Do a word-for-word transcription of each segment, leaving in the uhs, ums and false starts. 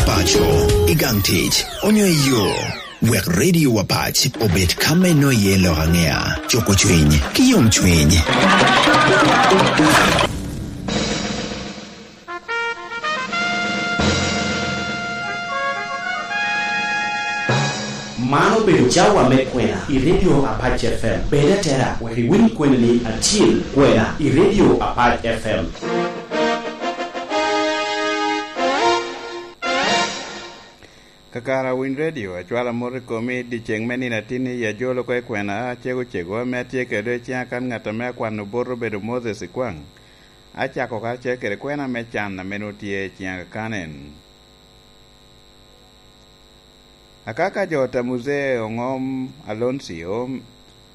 Paco, i gang tic, onyo i yo, wek Radio Apac obed ka me nwoyo iye lok aŋea, cuko cwiny, ki yomcwiny. Man obedo cawa me kwena i Radio Apac F M. Bed atera wek iwiny kweni-ni acil, kwena i Radio Apac F M. Kakare a Winy Radio, acwalo amot i komi, dyeceŋ me nino atin-ni, i ajolo oko i kwena acego cego ame atye kede i ciŋa kan ŋat ame akwano bot obedo Moses Ikwaŋ. Acako karacel kede kwena me can ame nwoŋo tye i ciŋa kan en. Akaka jo ta Muzee Oŋom Aloncio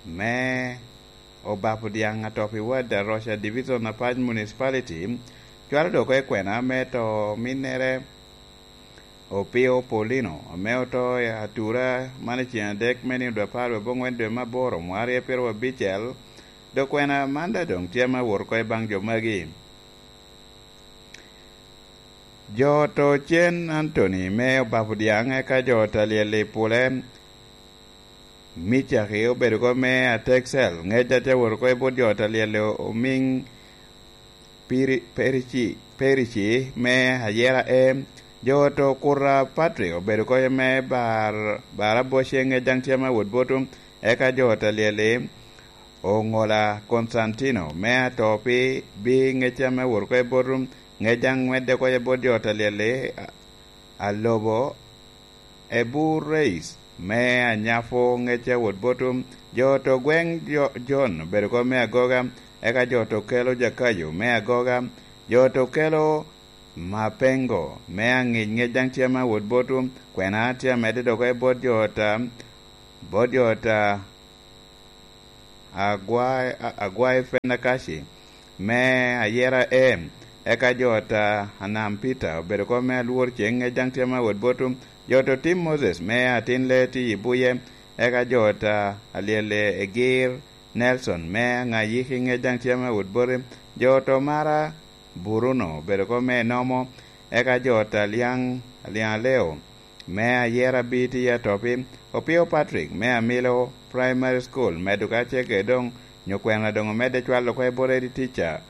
me Obapo Dyaŋ atop i wad Aroca Division Apac Municipality, cwalo dok oko i kwena me to ominnere Opio Paulino, ame oto i atura man i ceŋ adek me nino dwe apar wie aboŋwen dwe me aboro, mwaka aryo pyeraryo abicel, dok kwena man daŋ doŋ tye ame awot oko i baŋ jo magi. Jo oto cen Anthony me Obapo Dyaŋ, eka jo ta Lyel i Pule, Micaki obedo oko me Atexel, ŋec a tye awot oko i bot jo ta Lyel Omiŋ Piri-, Perici, Perici me Ayera E, jo oto Kuta Patrick obedo oko me Bar-, Baraboce, ŋec daŋ tye ame awot bot, eka jo ta Lyel Oŋola Constantino me Atopi bi ŋec ame awot oko i bot, ŋec daŋ ŋwedde oko i bot jo ta Lyel Alobo Ebu Reis me Anyafo, ŋec a wot bot, jo oto gweŋ jo-, Jon obedo oko me Agoga, eka jo oto kelo Jakayo me Agoga, jo oto kelo Mapengo me Aŋic, ŋec daŋ tye ame awot bot, kwena tye amedde dok i bot jo ota, bot jo ota Agwai, a-, Agwai Fenakaci me Ayera E, eka jo ota Anam Peter obedo oko me Alwor Ceŋ, ŋec daŋ tye ame awot bot, jo oto Tim Moses me Atin Leti i Buye, eka jo ota Alyel Egir Nelson me Aŋayiki, ŋec daŋ tye ame awot bot, jo oto Mara Bruno obedo oko me Nomo, eka jo ota Lyaŋ, Lyaŋ Aleo me Ayera Biti Atopi, Opio Patrick me Amilo Primary School, medo kacel kede doŋ nyo kwena doŋ omedde cwalo oko i bot Eddie Teacher,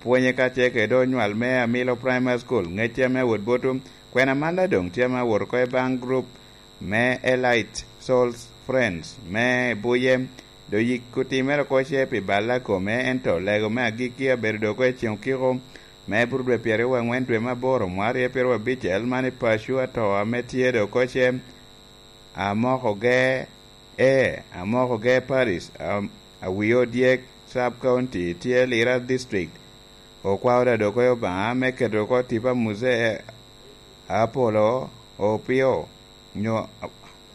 pwonye kacel kede onywal me Amilo Primary School, ŋec tye ame awot bot, kwena man daŋ doŋ tye ame awot oko i baŋ group me Elite Souls Friends me Buye, dok yik otimere oko ce pi bal a kome, ento lego me agikki abedo dok oko i ceŋ okiko me bur dwe pyeraryo wangwen dwe me aboro mwaka aryo pyeraryo abicel man i paco ato ame tye dok oko ce Amokoge, e, Amokoge Parish, a, Awio Dyek Sub County, tye Lira District. Okwao da dok oko Obaŋa me keto oko tipo a Muzee Apolo Opio, nyo,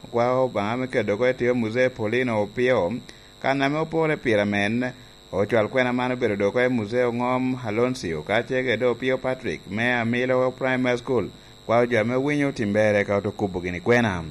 okwao Obaŋa me keto oko tipo a Muzee Paulino Opio, kan ame opore pire amen. Ocwal kwena man obedo dok oko i Muzee Oŋom Aloncio, kacel kede Opio Patrick me Amilo Primary School, kwao jo ame winyo otimmere ka oto kubo gini kwena.